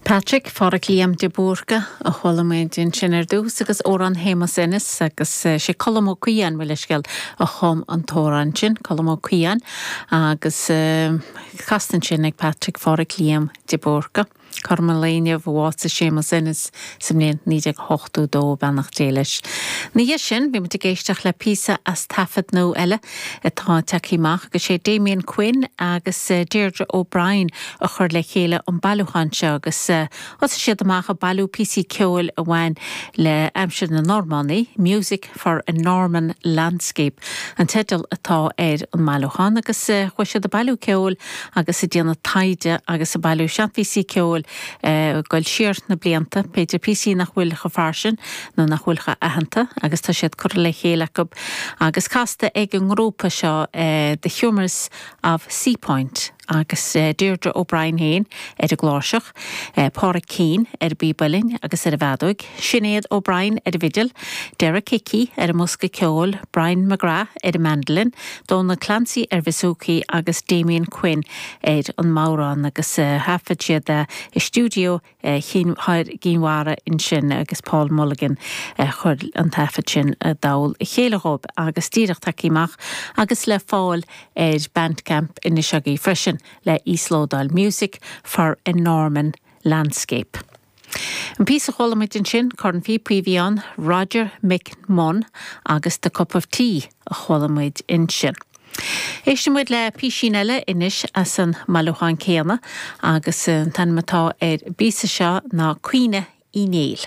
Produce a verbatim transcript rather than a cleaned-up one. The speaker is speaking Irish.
Patrick Phádraic Liam de Búrca a chuala muid ansin ar dtús agus amhrán Shéamus Ennis agus sé Colm Ó Caodháin mo leithscéal a chum an t-amhrán sin Colm Ó Caodháin agus casta ansin ag Patrick Phádraic Liam de Búrca. Cothrom an lae inniu a bhásaigh Séamus Ennis sa mbliain naoi déag ochtó dó beannacht Dé leis. Ina dhiaidh sin bhí muid ag éisteacht le píosa as taifead nua eile atá tagtha amach agus sé Damien Quinn agus Deirdre O'Brien a chur le chéile an bailiúchán seo agus thosaigh siad amach ag bailiú píosaí ceoil a bhain le aimsir na Normannaí, Music for a Norman Landscape. An teideal atá ar an mbailiúchán agus chuaigh siad ag bailiú ceoil agus ag déanamh taighde agus ag bailiú seanphíosaí ceoil ag dul siar na blianta, b'fhéidir píosaí nach bhfuil chomh fairsing nó nach bhfuil chomh aitheanta agus tá siad curtha le chéile acu agus casta ag an ngrúpa seo The Humours of Seapoint agus Deirdre O'Brien féin ar an gcláirseach, Pádraig Keane ar an bpíb uilleann agus ar an bhfeadóg, Sinéad O'Brien ar an bhfidil, Derek Hickey ar an mbosca ceoil, Brian McGrath ar an mandolin, Donal Clancy ar bouzouki agus Damien Quinn ar an mbodhrán agus thaifead siad i stiúideo Chinn Mhara ansin agus Paul Mulligan chuir an taifead sin i dtoll a chéile dhóibh agus díreach tagtha amach agus le fáil ar Bandcamp anois agaibh freisin le íoslódáil Music for a Norman Landscape. An píosa a chuala muid ansin cornphíopaí a bhí ann Roger McMunn agus The Cup of Tea a chuala muid ansin. Éistfidh muid le písín eile anois as an mbailiúchán céanna agus an t-ainm atá ar an bpíosa seo ná Caoineadh Uí Néill.